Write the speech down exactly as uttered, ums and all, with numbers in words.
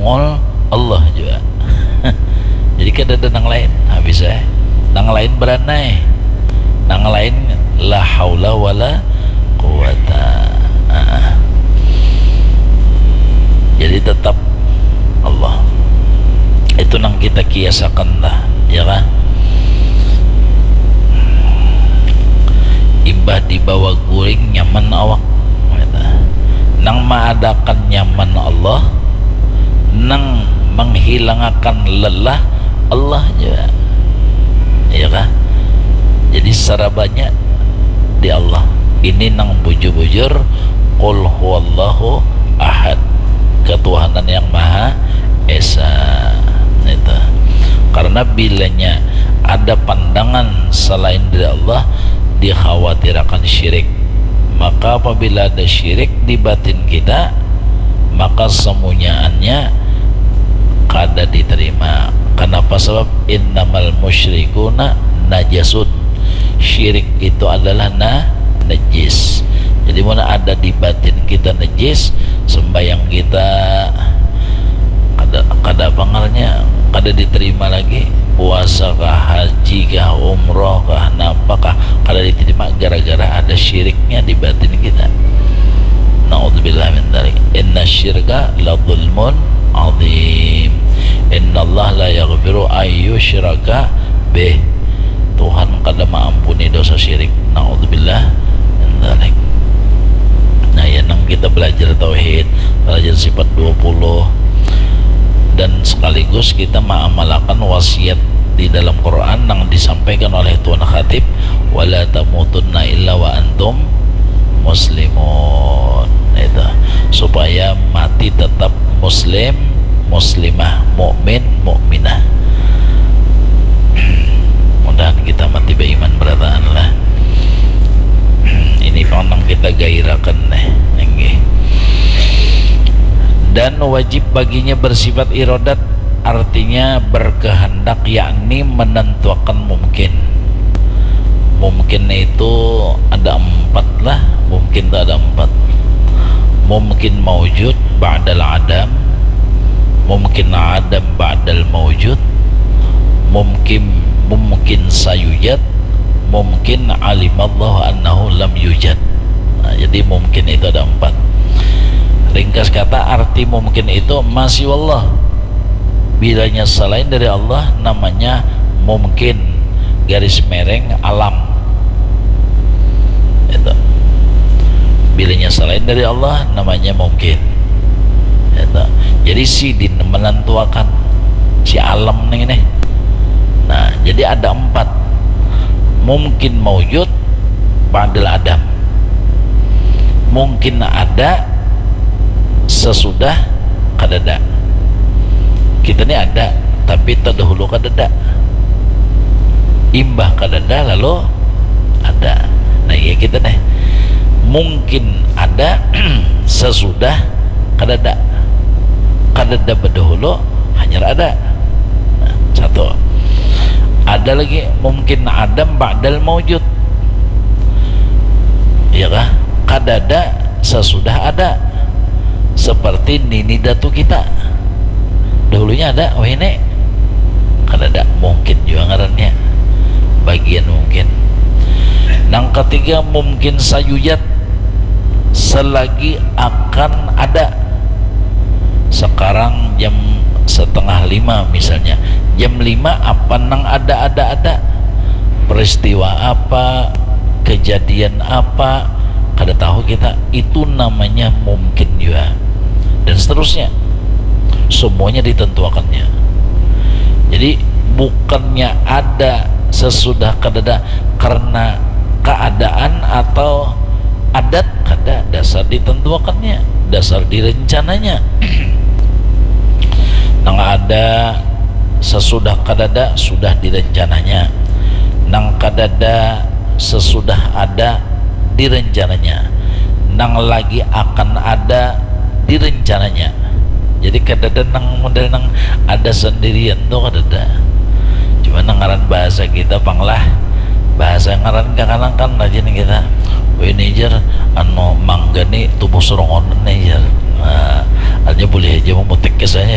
Mol Allah jua. Jadi kadada nang lain. Habis eh. Nang lain beranai. Nang lain la haula wala quwata. Ah. Jadi tetap Allah. Itu nang kita kiasakan lah, ya kan? Imbah dibawa guring nyaman awak. Nang maadakan nyaman Allah, nang menghilangakan lelah Allah jua. Iya kah? Jadi sarabanya di Allah. Ini nang bujur-bujur qul huwallahu ahad, ketuhanan yang maha esa. Itu. Karena bilanya ada pandangan selain dari Allah, dikhawatirakan syirik. Maka apabila ada syirik di batin kita, maka semunyaannya kada diterima. Kenapa? Sebab innamal musyrikuna najasun. Syirik itu adalah na najis. Jadi mana ada di batin kita najis, sembahyang kita kada, kada apa ngarannya, kada diterima lagi. Puasa kah, haji kah, umroh kah, napa kah, kada diterima gara-gara ada syiriknya di batin kita. Naudzubillah min dzalik. Inna syirka la zulmun azim. Inna Allah la yaghfiru ayyusyraka bih. Tuhan kada maampuni dosa syirik. Naudzubillah min dzalik. Nah, ya nang kita belajar tauhid, belajar sifat dua puluh, dan sekaligus kita mengamalkan wasiat di dalam Quran yang disampaikan oleh Tuan Khatib, wala tamutunna illa wa antum muslimun. Itu supaya mati tetap muslim, muslimah, mukmin, mukminah. Mudahan kita mati beriman berataan lah. Ini pang nang kita gairakan nih. Dan wajib baginya bersifat irodat, artinya berkehendak, yakni menentuakan mungkin. Mungkin itu ada empat lah, mungkin itu ada empat. Mungkin maujud ba'dal adam, mungkin adam ba'dal maujud, mungkin, mungkin sayujad, mungkin alimallahu annahu lam yujad. Nah, jadi mungkin itu ada empat. Ringkas kata, arti mungkin itu masih Allah. Bilanya selain dari Allah, namanya mungkin, garis mereng alam. Itu. Bilanya selain dari Allah, namanya mungkin. Itu. Jadi sidin menentuakan si alam nih, nih. Nah, jadi ada empat. Mungkin maujud ba'dal adam. Mungkin ada sesudah kadada. Kita ni ada, tapi terdahulu kadada. Imbah kadada lalu ada. Nah, iya kita nih. Mungkin ada sesudah kadada. Kadada berdahulu, hanyar ada. Nah, satu. Ada lagi mungkin adam ba'dal maujud. Iya kah? Kadada sesudah ada. Seperti nini datu kita. Dahulunya ada, wah ini. Kadada, mungkin juga ngarannya. Bagian mungkin. Nang ketiga mungkin sayujad, selagi akan ada. Sekarang jam setengah lima misalnya. Jam lima apa nang ada, ada, ada? Peristiwa apa? Kejadian apa? Kada tahu kita. Itu namanya mungkin juga. Dan seterusnya. Semuanya ditentuakannya. Jadi bukannya ada sesudah kadada karena keadaan atau adat, kada, dasar ditentuakannya, dasar direncananya. Nang ada sesudah kadada sudah direncananya. Nang kadada sesudah ada direncananya. Nang lagi akan ada direncananya. Jadi kadada nang model nang ada sendirian tuh, kadada. Cuma nang ngaran bahasa kita pang lah, bahasa ngaran kakanakan aja nih kita. Wih, ini jar, anu, mangga nih tubuh serongonan nih jar. Nah, aja boleh aja memutik kisahnya ya